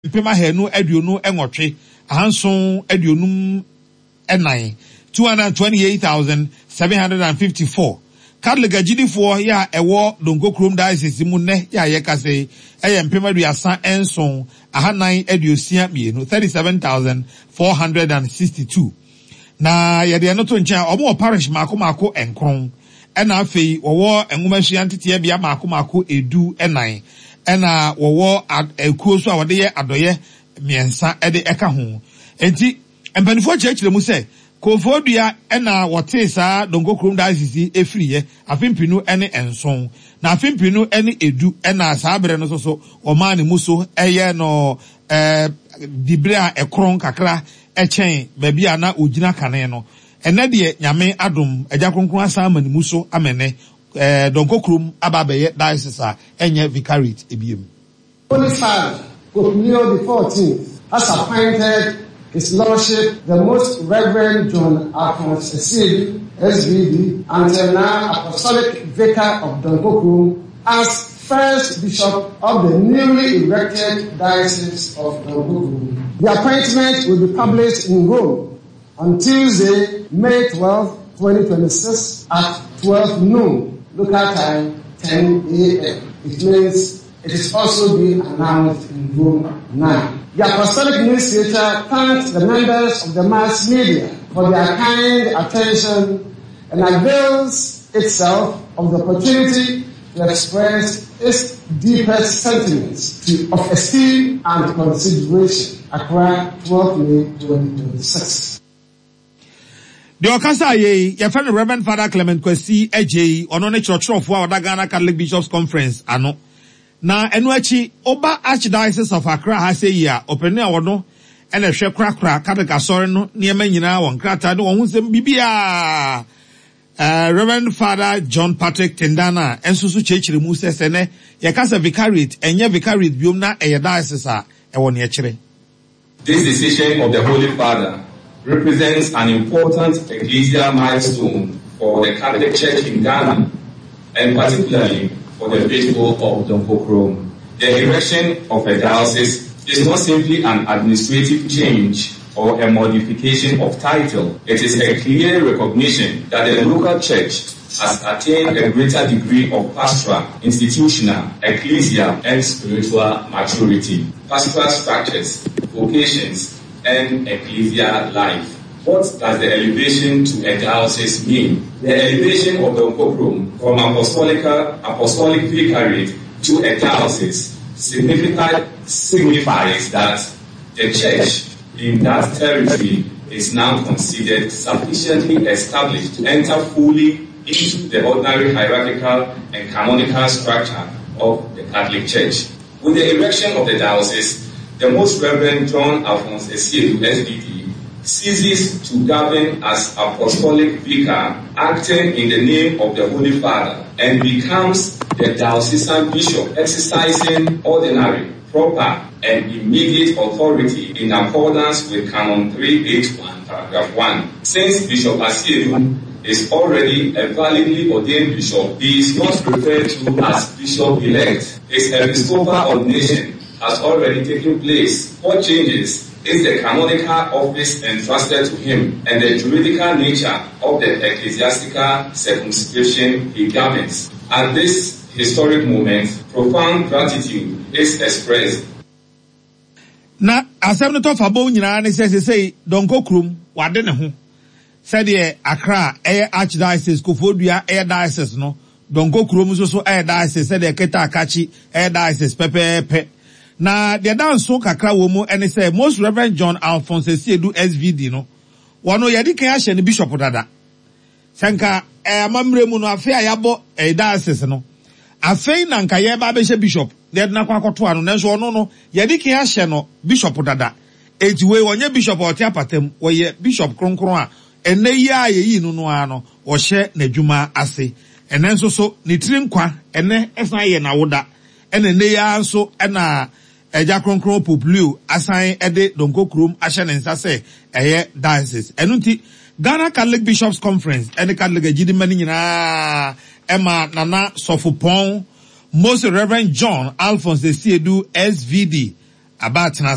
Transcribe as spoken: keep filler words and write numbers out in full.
mpem ahanu aduonu nwɔtwe ahanson aduonum ɛnan two hundred twenty eight thousand seven hundred and fifty four Catholic agyidifoɔ yɛ a ɛwɔ Donko Diocese mu nnɛ yɛ a yɛkasa yi ɛyɛ mpem aduasa nson ahanan aduosia mmienu thirty seven thousand four hundred and sixty two na yɛde ɛno to nkyɛn a wɔn wɔ parish mako mako nkron ɛna afei wɔwɔ nwomasua nteteɛbea mako mako edu ɛnan ɛna wɔwɔ ekuo so a wɔde yɛ adɔyɛ mmiɛnsa ɛde ɛka ho eti mpanimfoɔ kyerɛkyerɛ mu sɛ kofoɔdua ɛna wɔtee saa Donko Kurom diocese efiri afe mpinu ɛne nson na afe mpinu ɛne edu ɛna saa abere no nso so ɔmaa ne mu so ɛyɛ no ɛɛ dibere a ɛkoron kakra ɛkyɛn baabi a na ogyina kane no ɛnɛ deɛ nyame adom agya kronkron asan ama ne mu so amɛnɛ ɛɛ Donko Kurom aba abɛyɛ diocese a ɛnyɛ vicariate ebiem. Holy Father, Pope Leo the Fourteenth, has appointed His Lordship the Most Reverend John Alphonse Asiedu, SVD, until now Apostolic Vicar of Donkorkrom, as first bishop of the newly erected Diocese of Donkorkrom. The appointment will be published in Rome on Tuesday, May twelfth, twenty twenty-six at twelve noon, local time, ten a.m. It means it is also being announced in Rome now. The Apostolic Nunciature thanks the members of the mass media for their kind attention and avails itself of the opportunity to express its deepest sentiments to, of esteem and consideration. Accra, twelve May twenty twenty-six. Deɛ ɔkasa yɛ yi yɛfrɛ no Reverend Father Clement Kwasi Agyei ɔno ne kyerɛkyerɛfoɔ a ɔda Ghana Catholic Bishops Conference ano na ɛno akyi ɔba Archdiocese of Accra ha sɛ yi a ɔpanin a wɔno ɛna ɛhwɛ korakora Catholic asɔre no nneɛma nyinaa wɔ nkrataa ne wɔn ho nsɛm biribiara uh, Reverend Father John Patrick Tendana nso so kyerɛkyerɛ mu sɛ sɛ nɛ yɛka sɛ vicariate ɛnyɛ vicariate biom na ɛyɛ diocese a ɛwɔ neɛ kyerɛ. This decision of the Holy Father represents an important ecclesial milestone for the Catholic Church in Ghana, and particularly for the faithful of Donkorkrom. The erection of a diocese is not simply an administrative change or a modification of title. It is a clear recognition that the local church has attained a greater degree of pastoral, institutional, ecclesial, and spiritual maturity. Pastoral structures, vocations, and ecclesial life. What does the elevation to a diocese mean? The elevation of the Donkorkrom from apostolic, apostolic vicariate to a diocese signifies, signifies that the church in that territory is now considered sufficiently established to enter fully into the ordinary hierarchical and canonical structure of the Catholic Church. With the erection of the diocese, the Most Reverend John Alphonse Asiedu, S V D, ceases to govern as apostolic vicar, acting in the name of the Holy Father, and becomes the diocesan bishop, exercising ordinary, proper, and immediate authority in accordance with Canon three eighty-one, paragraph one. Since Bishop Asiedu is already a validly ordained bishop, he is not referred to as bishop-elect. His episcopal ordination has already taken place. What changes is the canonical office entrusted to him and the juridical nature of the ecclesiastical circumscription he governs. At this historic moment, profound gratitude is expressed. Na asɛm no tɔfa bɔ nyinaa ne sɛ sesei Donko Kurom wade ne ho sɛdeɛ Accra ɛyɛ archdiocese Koforidua ɛyɛ diocese no Donko Kurom nso so ɛyɛ diocese sɛdeɛ Keta Akakyi ɛyɛ diocese pɛpɛɛpɛ. Na deɛ da nso kakra wɔ mu ɛne sɛ Most Reverend John Alphonse Asiedu S V D no wɔno yɛde kan ahyɛ ne bishop dada. Sɛ nka ɛyɛ amammerɛ mu no afei a yɛabɔ ɛyɛ diocese no afei na nka yɛba abɛhyɛ bishop na yɛde no akɔ akɔto ano nanso ɔno no yɛde kan ahyɛ no bishop dada. Enti wei ɔnyɛ bishop a ɔte apatam, wɔyɛ bishop kronkron a ɛnɛ yi a yɛyi no no ara no ɔhyɛ n'adwuma ase. Ɛnɛ nso so ne tiri nkwa ɛnɛ ɛsan yɛ n'awoda. Ɛna ɛnɛ yi ara nso ɛna Agya Kronkron Pope Leo asan ɛde Donko Kurom ahyɛ ne nsa sɛ ɛyɛ diocese. Ɛno nti Ghana Catholic Bishops Conference ɛne Catholic agyidima no nyinaa ɛma Nana Sɔfopɔn Most Reverend John Alphonse Asiedu S V D Aba atena.